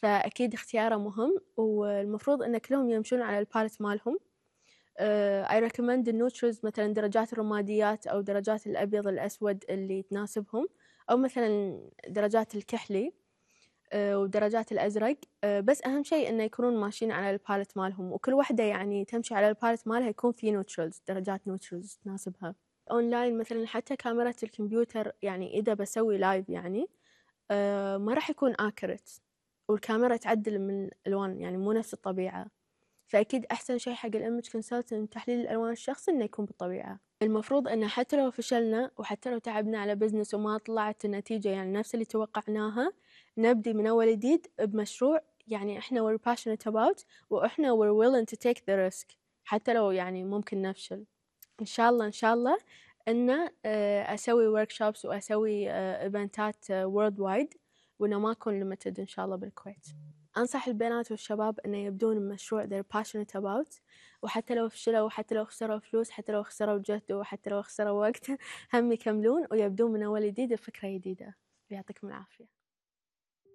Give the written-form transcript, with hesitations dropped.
فأكيد اختياره مهم، والمفروض إن كلهم يمشون على الباليت مالهم. I recommend النوترز، مثلا درجات الرماديات أو درجات الأبيض الأسود اللي تناسبهم، أو مثلا درجات الكحلي ودرجات الأزرق. بس أهم شيء إنه يكونون ماشيين على الباليت مالهم، وكل واحدة يعني تمشي على الباليت مالها يكون في نوترلز، درجات نوترلز تناسبها. أونلاين مثلا حتى كاميرا الكمبيوتر، يعني إذا بسوي لايف يعني ما راح يكون accurate، والكاميرا تعدل من الألوان يعني مو نفس الطبيعة. فأكيد أحسن شيء حق الإيمج كونسلتنت تحليل الألوان الشخصي إنه يكون بالطبيعة. المفروض إنه حتى لو فشلنا وحتى لو تعبنا على بزنس وما طلعت النتيجة يعني نفس اللي توقعناها، نبدي من أول جديد بمشروع يعني إحنا we're passionate about، وإحنا we're willing to take the risk حتى لو يعني ممكن نفشل. إن شاء الله إن شاء الله إنه أسوي workshops وأسوي إيفنتات worldwide، وإنه ما أكون limited إن شاء الله بالكويت. أنصح البنات والشباب إنه يبدون مشروع they're passionate about، وحتى لو فشلوا وحتى لو خسروا فلوس حتى لو خسروا جهد وحتى لو خسروا وقت هم يكملون ويبدون من أول جديد بفكرة جديدة. يعطيكم العافية.